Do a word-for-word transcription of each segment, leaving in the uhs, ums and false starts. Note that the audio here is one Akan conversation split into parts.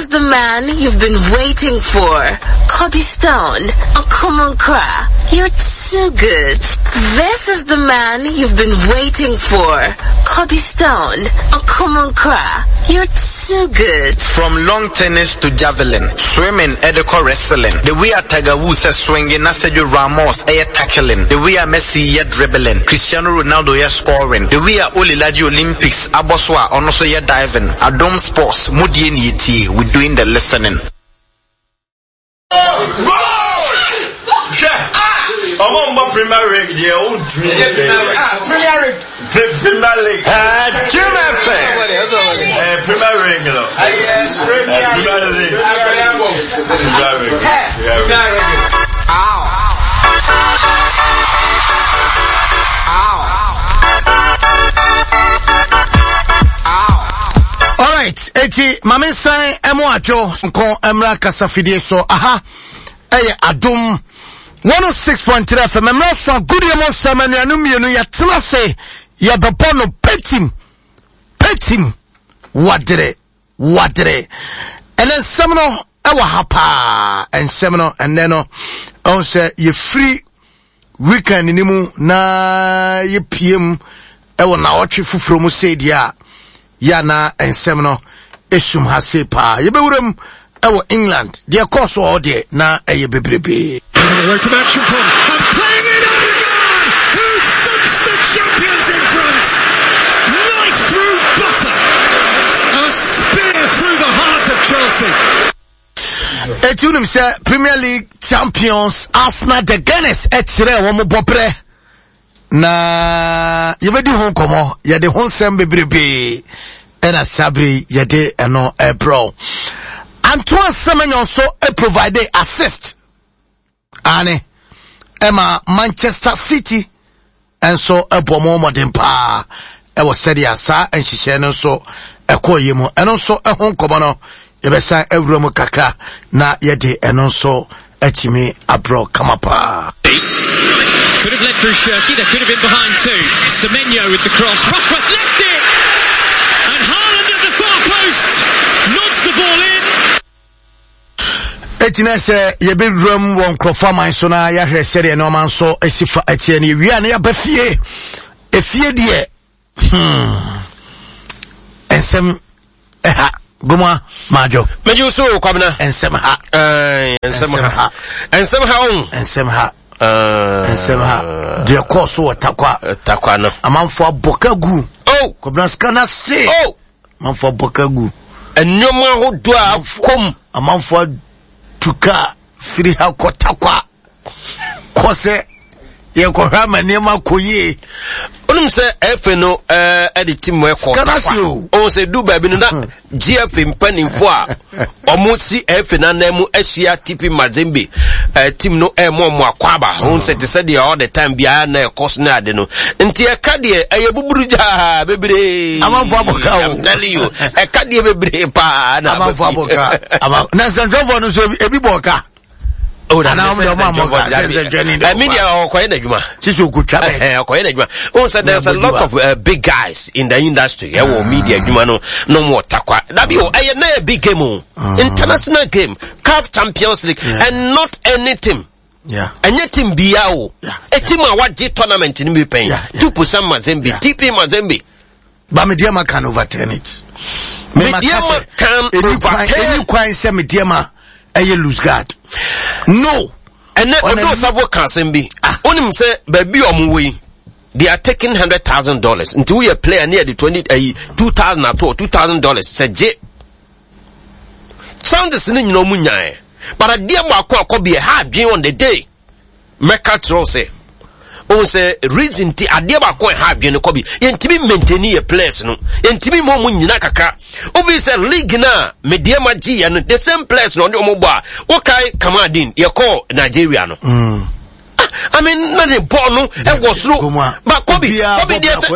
is the man you've been waiting for. Kobe Stone, Okomonkra. You're too good. This is the man you've been waiting for. Kobe Stone, Okomonkra. You're too good. From long tennis to javelin, swimming, edical wrestling. The way a Tiger Woods is swinging, na Sergio Ramos air tackling. The way a Messi yɛ dribbling, Cristiano Ronaldo yɛ scoring. The way a Olilaji Olympics, Aboswa ono so yɛ diving. Adom Sports, mudie ni etie, we doing the listening. Ọmọ mbọ Premier League deɛ o ntumi. Premier League. Premier League. Jim F M. Eh, Premier League no. Premier League. Premier League. Premier League. Ow. Ow. Ow. All right, eti mame san emo adwo nko emra kasafidie so aha eye Adom one oh six point three F M emra so gudie mo nsem anuanu mienu ya tena se ya bebo no petim petim wadere wadere ene nsem no ewa ha pa nsem no ene no on se ye free weekend ni mu na ye P M ewo na otwe fufuro mu se dia ya na nsem no esum ha se pa ye bewuram ewo England de course o de na eye bebrebe. Away from action pond and playing it Odegaard, who thumps the champions in front. Knife through butter, a spear through the heart of Chelsea. Etunim se Premier League champions Arsenal the Gunners echire wo mo bobre na yebedi ho nkomo ye de ho nsem bebrebe ena sabri ye de eno ebro. Antoine Semenyo so e provide assist. Ane Emma Manchester City and so e bomo modern pa e was said asa and she no so e koyemu and so e ho nkomo no yebesa ewuram kakra na yede eno so etimi abro kamapa. Could have led through Shirky, they could have been behind too. Semenyo with the cross. Rushworth left it! And Haaland at the far post nods the ball in. Etina se yebewuram won krofo man so na yahwe sede no man so esifa etie ne wi na yaba fie efie de hmm ensem eh goma majo meju so kwabna ensem ha eh ensem ha ensem ha on ensem ha eh ensem ha de course wo takwa takwa no amanfo aboka gu oh kwabna skana se oh amanfo aboka gu enwoma hodo akom amanfo tuka firi ha kotakwa kose ye ko ha manema koye onum se F no eh e de team e ko takwa on se du ba bi no na G F mpanimfo a omo si F na na mu asia T P Mazembe eh team no e mo mo akwaba on se te se de all the time bia na e cost na ade no nti e ka de e buburu ja bebre amanfo aboka o I'm telling you e ka de bebre pa na amanfo aboka na sanjofo no so ebi boka. Oh, na na I mean, oh, so there's a lot of uh, big guys in the industry. Yeah, well, media, you know, no more takwa. That be oh, a big game, oh. International game, C A F Champions League, yeah. And not any team. Yeah. Any team B O. Yeah. A team a what G tournament in me paying. Two percent Mazembe, T P Mazembe. But Medeama can overturn it. Medeama can overturn. Any kwan say Medeama a lose guard. No. And then Odo Sabo can be. Onim say baby omuwe. They are taking hundred thousand dollars. Until we play near the twenty uh, two thousand or two thousand dollars. Say J. Sound is ni no munya. But a dear mako be a hard dream on the day. Mecca troll say. Oh say reason ti adeɛ baako ha adwene kɔ bi yɛntimi maintain your place no yɛntimi mo mu nyina kakra obi sɛ league na Medeama G no the same place no ɔmo bɔ a wokai Kamadin yɛkɔ Nigeria no mm. ah, I mean na ne ball no ɛwɔ soro ba kɔbi kɔbi deɛ sɛ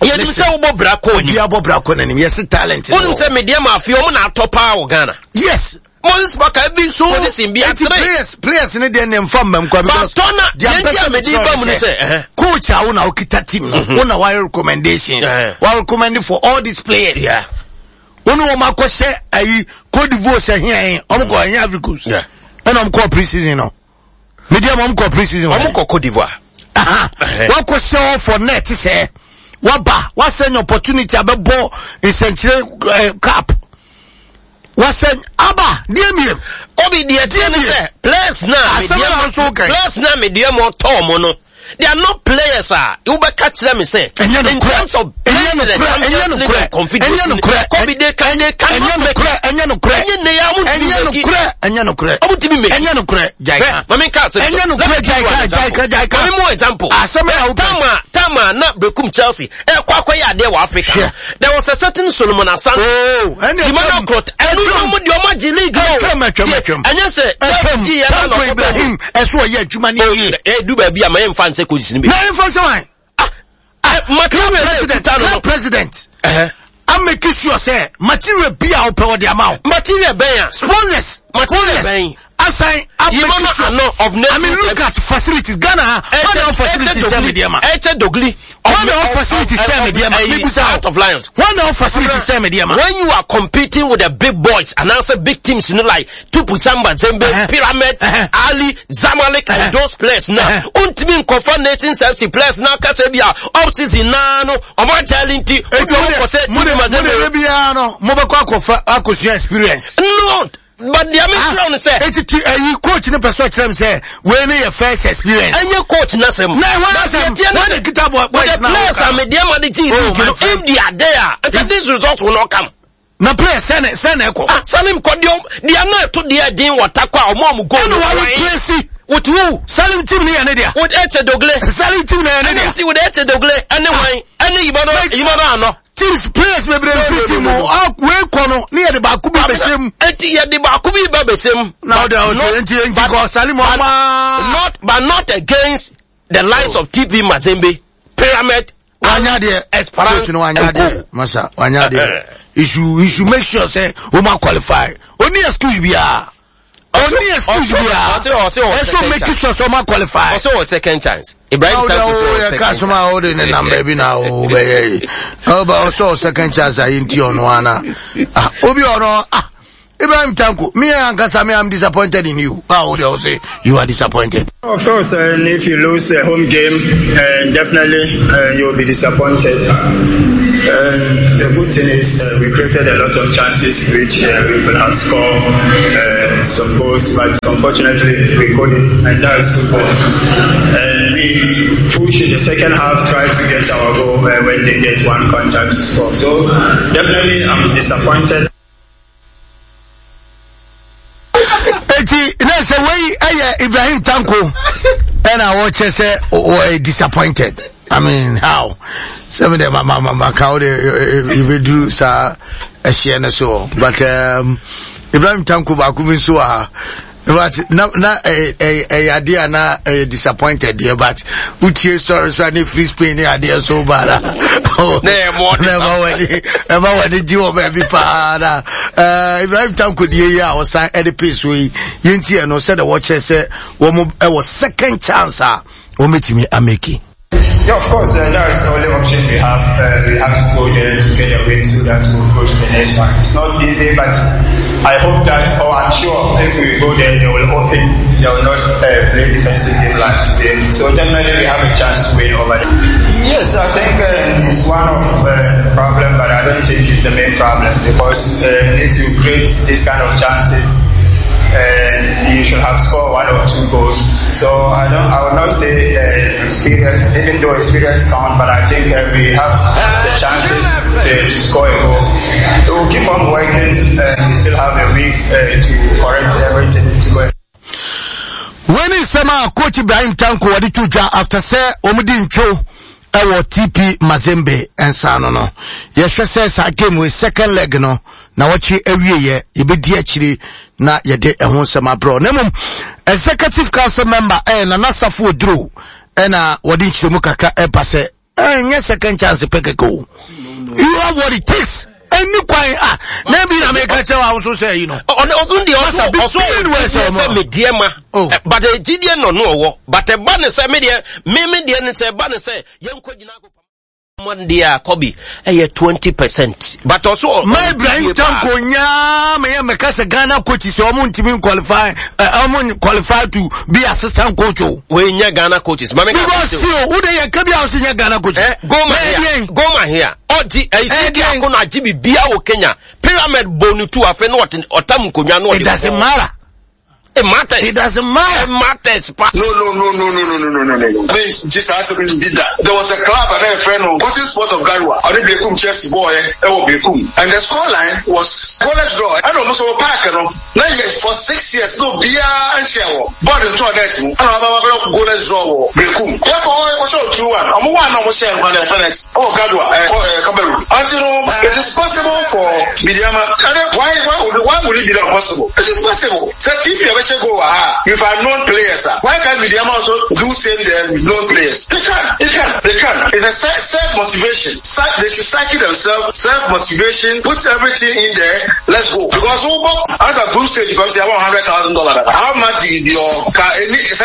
yɛnim sɛ wobɔ bra kɔ anim obi abɔ bra kɔ n'anim yɛse talent wonim sɛ Medeama afei ɔmo na atɔ paa wɔ Ghana. Yes. Moses Baka every so position be three players players ne dey name from them because the coach a una okita team no una why recommendations why recommend for all these players. Yeah. Wo ne wɔn akɔhyɛ ayi Cote d'Ivoire sɛ hia ɔmo kɔ ɛnyɛ Ivory Coast. Ɛna ɔmo kɔ pre-season no. Medeama ɔmo kɔ pre-season. Ɔmo kɔ Cote d'Ivoire. Wakɔhyɛ hɔ for net sɛ waba wasɛn opportunity abɛbɔ nsɛnkyerɛ cup. Wasɛn aba deɛ miem. Obi deɛ tiɛ ne sɛ players na Medeama players na Medeama ɔtɔɔ mo no. They are not players ah. You be catch them say. In terms of playing the Champions League and confederation. Kobe they can they cannot make it. Enye no kure. Enye no kure. Enye no kure. Jaika. Mami ka say. Enye no kure jaika jaika jaika. Mami mo example. Tama tama na Bekum Chelsea. Eh kwa kwa ya there wa Africa. There was a certain Solomon Asante. Oh, enye Emmanuel Crot. Enu no mo di o ma G League. Etwem etwem etwem. Enye se Chelsea ya na Ibrahim eso ye adwuma ni ye. Eh du ba bi am mfa nse coach ni be. Na mfa se wan. Ah, material president, no president. Eh. I'm making sure say material be our power the amount. Material ben. Sponsors, material ben. Assign I'm making sure. Of I mean look at facilities Ghana. What are facilities tell me dear man? Eche Dogli. What are facilities tell me dear man? Out of Lions. What are facilities tell me dear man? When you are competing with the big boys and also big teams, you know, like Tupu Samba, Zembe, uh-huh. Pyramid, uh-huh. Ali, Zamalek, uh-huh. and those players now. Uh-huh. Untimi Nkofa Nations F C players now Kasebia up season now no Omo challenge. Experience. No. But the American say, it's you coach in the person say, when your first experience. And your coach Nasem. No, when the guitar boy, the players are media the G. If they are there, if this result will not come. Na player send send echo. Ah, Salim Kodio, they are not to their dean what takwa or mom go. And who with who? Salim team ni ane With Eche Dogle. Salim team ni ane See with Eche Dogle. Anyway, any Ibano, Ibano no. Teams players may be team o we kono ni ye de baako bi besem enti ye de baako bi ba besem now they are enti enti ko Salim not but not against the lines of T P Mazembe, Pyramid, wanya de Esperance no wanya de masa wanya de you should you should make sure say o ma qualify oni excuse bia oni excuse bia eso make sure say o ma qualify also second chance Ibrahim Tanko so second chance o de ne number bi na o be ye o ba also second chance ayi nti ono ana ah obi ono ah Ibrahim Tanko, me and Kasami, I'm disappointed in you. How would you say you are disappointed? Of course, and if you lose a home game, uh, definitely uh, you will be disappointed. And the good thing is uh, we created a lot of chances which uh, we could have scored uh, some goals, but unfortunately we couldn't, and that's football. And we push in the second half, try to get our goal uh, when they get one contact to score. So definitely I'm disappointed. Eti na say we eh Ibrahim Tanko and I watch say or disappointed. I mean how? Seven day mama mama how they you do sa ehye so but um Ibrahim Tanko ba ku so ah but na na eh eh idea na disappointed here but utie story so any free Spain idea so bad. Na mo na wani e ma wani ji wo ba bi pa na eh Ibrahim Tanko die yi a o san e de pace we yenti e no said the watcher say wo mo e was second chance a o metimi ameki. Yeah, of course, uh, that's the only option we have. Uh, we have to go there to get a win so that we'll go to the next one. It's not easy, but I hope that, or I'm sure, if we go there, they will open, they will not uh, play defensive game like today. So definitely we have a chance to win over them. Yes, I think uh, it's one of the uh, problem, but I don't think it's the main problem because uh, if you create this kind of chances, uh, you should have scored one or two goals. So I don't, I would not say uh, experience, even though experience count, but I think uh, we have the chances to, to score a goal. We will keep on working. Uh, we still have a week uh, to correct everything to go. When is Sama Coach Ibrahim Tanko wadi tuja after say omudi ncho ewo T P Mazembe ensa no no. Yehwe say sa game we second leg no na wachi awie ye yebedi akiri na yede ehun sema bro. Na mum executive council member eh na Nasafo Oduro eh na wodi nchiremu kakra e pa se eh nye second chance pekeko. You have what it takes. Any kwan ah na bi na me ka che wa so say you know. On on the also also me die ma. But the G D no no wo. But e ba ne say me die me me die ne say ba ne say ye nkwa gina. Monday a Kobe ɛyɛ twenty percent. But also Ma Ibrahim Tanko nyaa me yɛ mɛka sɛ Ghana coach sɛ ɔmo ntumi qualify ɔmo qualify to be assistant coach o. Wei nyɛ Ghana coaches. Maame ka because see o wo de yɛ kabi a ɔsi nyɛ Ghana coach. Eh, Goma here. Goma here. Ɔgye ɛyi sidi akɔ na agye bibia wɔ Kenya. Pyramid bɔ tu afei na ɔte ɔtam nkonnwa na ɔde. It doesn't matter. It matters. It doesn't matter. It matters. Pa. No, no, no, no, no, no, no, no, no, no. I mean, just ask me did that. There was a club and a friend of Cotton Sport of Garoua. I did Berekum Chelsea boy, eh, Berekum. And the scoreline was goalless draw. I know most of the park, you know. Now, yes, for six years, no beer and share. Ball into a net. And I'm about goalless draw. Berekum. Therefore, I was two one. I'm one almost share on the F N X. Oh, Garoua, eh, Cameroon. Until it is possible for Medeama. Why, why would, why would it be not possible? It is possible. So if you go, ah, if I known players, ah, why can't Medeama also do same there with known players? They can, they can, they can. It's a self motivation. They should psyche themselves, self motivation, put everything in there. Let's go. Because as a group stage, you can say, I want hundred thousand dollars. How much is your car? At least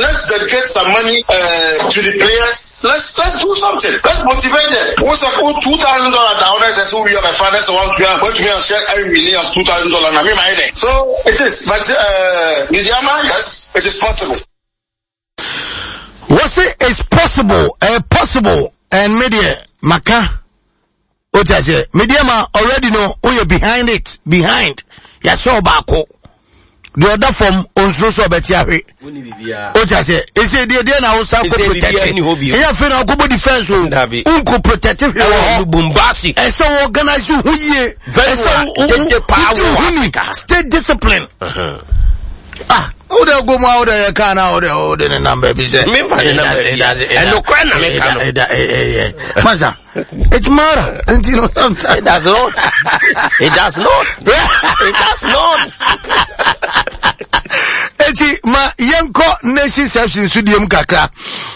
let's dedicate some money uh, to the players. Let's let's do something. Let's motivate them. What's a two thousand dollars down there? Says we have a finance one to be and share every million two thousand dollars. So it is, but uh, Medeama, yes, it is possible. What's it is possible? Uh, possible and media maka. What I say, Medeama already know who you behind it. Behind, ya saw bako. The other form onso so beti ahwe. What I say, is it the na osa ko protect. E fe na ko defense o. Unko protect hwe ho. Bombasi. E se organize hu yie. E se power. Stay discipline. Uh-huh. Ah, o de go ma o de ka na o de o de number bi se. Me fa number. E no kra na me ka no. Eh eh. Masa. It's matter. And you know sometimes it does not. It does not. It does not. Eti ma yenko nation section studio kakra.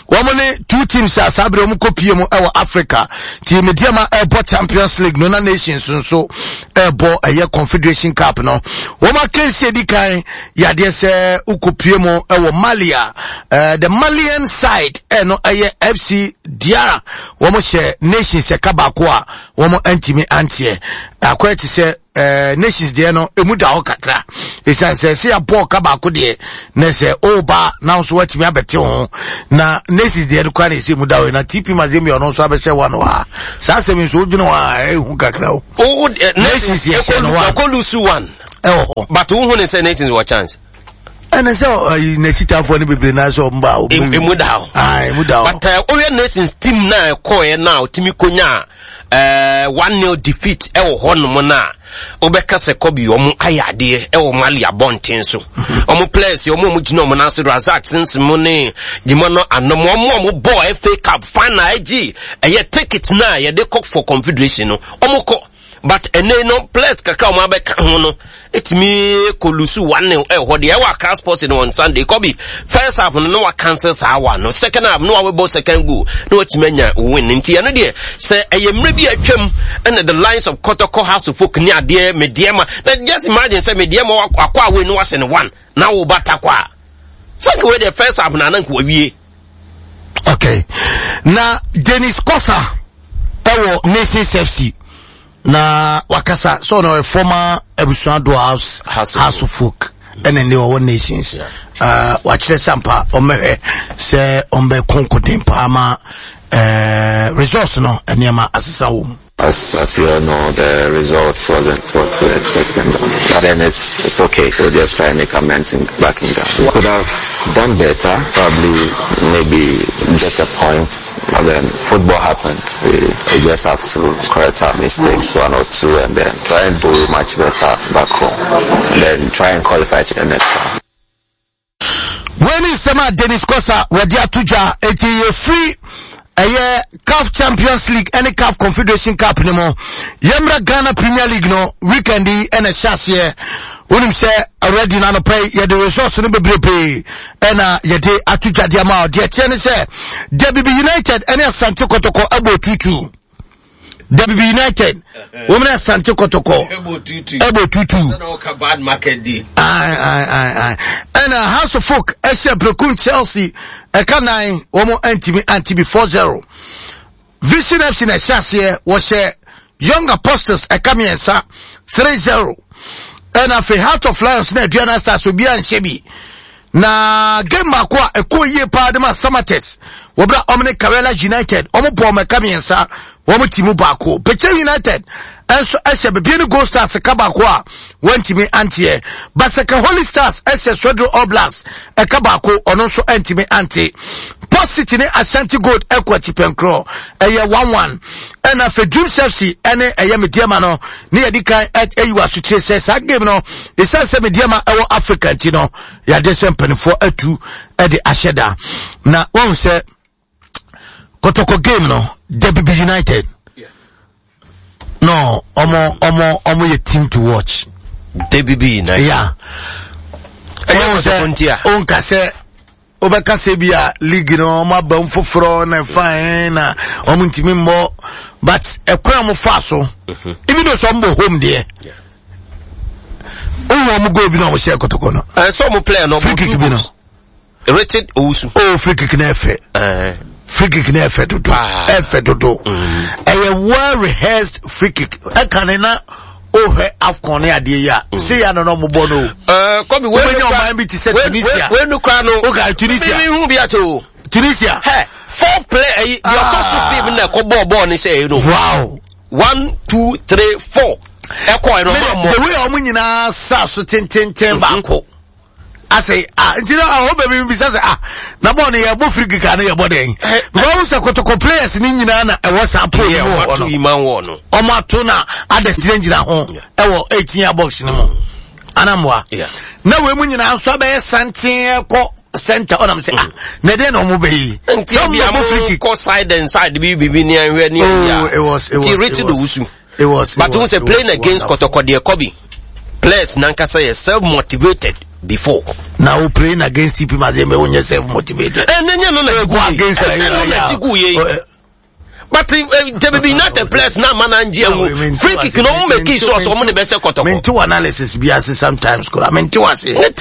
Wɔn ne two teams a saa bere wɔn kɔ pie mu ɛwɔ Africa. Ti Medeama ɛbɔ Champions League no na Nations nso ɛbɔ ɛyɛ Confederation Cup no. Wɔn akansi edi kan yadeɛ sɛ ukɔ pie mu ɛwɔ Mali a uh, the Malian side ɛno ɛyɛ F C Diarra. Wɔn hyɛ Nations ɛka baako a wɔn ntumi anteɛ. Akɔyɛ te sɛ Uh, Nations deɛ no emu da hɔ kakra esan sɛ sɛ yɛabɔ ɔka baako deɛ na sɛ ɔba na nso watumi abɛte ho na Nations deɛ no kora na ɛsɛ emu da hɔ na T P Mazembe ɔno nso abɛhyɛ wa no ha saa asɛm nso wodwene hɔ a ɛhu kakra o. O Nations yɛ hyɛ no wa ɔkɔ lose one ɛwɔ hɔ but wohu ne sɛ Nations wɔ chance. Ɛna sɛ ɔyi n'akyitafoɔ no bebree na sɛ ɔmba emu da hɔ ah emu da hɔ but ɔyɛ Nations team na ɛkɔɛ na ɔtumi konya Uh, one nil defeat ɛwɔ hɔ nom na wobɛka sɛ kɔbi ɔmo ayɛ adeɛ ɛwɔ Mali abɔnten so ɔmo players ɔmo ɔmo gyina ɔmo n'ase Razak Simpson ne gyima no anom ɔmo ɔmo bɔ F A Cup final ɛgye ɛyɛ ticket na yɛde kɔ for confederation no ɔmo kɔ but ɛnɛ no players kakra ɔmo abɛka ho no etimi kolusu one nil ɛwɔ hɔ deɛ ɛwɔ Accra Sports no on Sunday kɔbi first half no no wa cancel saa wa no second half no wa webɔ second goal no watumi anya win nti ɛno deɛ sɛ ɛyɛ mmerɛ bi atwam ɛna the lines of Kotoko House of Folk ne adeɛ Medeama na just imagine sɛ Medeama akɔ away no wasɛ no one na wo ba takɔ a sɛ wei deɛ first half na ananko awie. Okay, na Dennis Kosa ɛwɔ Nations F C na wakasa so no a former Abusuado house house of folk and then they were one nations uh wakyerɛ sampa ɔmɛhwɛ sɛ ɔmbɛ konkoden pa ma eh results no nneɛma asesa wo. As, as you all know, the results wasn't what we were expecting. But then it's, it's okay. We'll just try and make amends in back in Ghana. We could have done better, probably maybe get a point. But then football happened. We, we just have to correct our mistakes, one or two, and then try and do much better back home. And then try and qualify to the next round. When is Sama Dennis Kosa Wadia Tuja eti free ɛyɛ CAF Champions League ɛne CAF Confederation Cup ne mo yɛmra Ghana Premier League no weekend yi ɛna hyɛ aseɛ wonim sɛ already na anɔpɛ yɛde resource no bebrebe ɛna yɛde ato dwadeɛ ma deɛ kyerɛ ne sɛ Debibi United ɛne Asante Kotoko ɛbɔ tutu W B United wɔn na Asante Kɔtɔkɔ ɛbɔ tutu. Ayi ayi ayi ayi ɛna House of Folk ɛhyɛ Berekum Chelsea ɛka nine, wɔn ntumi anti bi, four zero. Vision F C na ɛhyɛ aseɛ, wɔhyɛ Young Apostles ɛka mmiɛnsa, three zero. Ɛna afei Heart of Lions na Aduana Stars, obi anhyɛ bi. Na game baako a ɛkɔɔ yie paa de ma Samatex, wɔbra ɔmo ne Karela United, ɔmo bɔ ɔmo ɛka mmiɛnsa, wɔn ti mu baako. Bechem United ɛnso ɛhyɛ Bibiani Gold Stars ɛka baako a wɔntumi anteɛ. Basake Holy Stars ɛhyɛ Swedru All Blacks ɛka baako, ɔno nso ɛntumi ante. Port City ne Ashanti Gold ɛkɔ atipɛnkorɔ, ɛyɛ one one. Ɛna afei Dreams F C ɛne ɛyɛ Medeama no ne yɛdi kan ɛyi wɔ asokyire sɛ saa game no, ɛsiane sɛ Medeama ɛwɔ Africa nti no, yɛade sɛ mpanimfoɔ atu ɛde ahyɛ da. Na wɔn sɛ Kɔtɔkɔ game no, W B United no, ɔmo ɔmo ɔmo yɛ team to watch. W B United. Yeah. Ɛnyɛ Kɔtɔkɔ nti a. Onka sɛ wobɛka sɛ bi a league no ɔmo aba mu foforɔ na ɛfa ɛn na ɔmo ntumi mmɔ, but ɛkwan a ɔmo fa so, even though sɛ ɔmo bɔ home deɛ, ohun ɔmo goal bi na ɔmo hyɛ Kɔtɔkɔ no. Ɛsɛ ɔmo player no free ɔmo kick two bi no goals. Richard Owusu. Oh, free kick na ɛfɛ. Ɛɛ. Free kick na ɛfɛ dodo. Paa. Ɛfɛ dodo. Ɛyɛ well rehearsed free kick. Ɛka ne na ohwɛ AFCON ne adeɛ yi a se ya no na ɔmo bɔ no o. Ɛɛ, Kɔbi wei Wobɛnya ɔman bi te sɛ Tunisia. Wei nu kura no. Okay, Tunisia. Mi mi hu bi ate o. Tunisia. Hɛ, four player ɛyi deɛ ɔtɔ so fifth na ɛkɔ bɔɔl bɔɔl ne sɛ ɛyi no. Wow. One, two, three, four. Ɛkɔ ɛno ɔmo the amɔ. way a ɔmo nyinaa sa so tententen baako asɛ ah, nti na ɔhɔ baabi bisa sɛ, ah, na bɔɔl no yɛbɔ free kick a no yɛbɔ dɛn? Because ɔmo sɛ Kɔtɔkɔ players ne nyinaa na ɛwɔ saa pole Yɛ no mu wɔ hɔ wato no. iman wɔ no. Ɔmo ato na others gyinagyina ho ɛwɔ eighteen yard box no mu anamboa. Yeah. Na wei mu nyinaa nso abɛyɛ santen ɛkɔ center, ɔnam sɛ, ah, na ɛdeɛ na ɔmo bɛyi Nti na ɔmo bi a bɛbɔ free kick. mo kɔ side and side bi bibi ni ahwɛ ni Oh, ɛyi it was it a. Nti was Richard it was Owusu. it was But it who was say it playing was against wonderful. Kɔtɔkɔ deɛ, Kɔbi players nankasa yɛ self motivated before. Na o playing against T P Mazembe, o nyɛ self motivated. Ɛ ne nye no na ti Go gu ye. against Ɛsɛ no na ti gu ye. But W B United players na ama na ngye ɛho free kick na ɔmo make sure sɛ ɔmo ne bɛ sɛ Kɔtɔkɔ. Mente wo analysis bi ase sometimes kora, mente wo ase. Ne te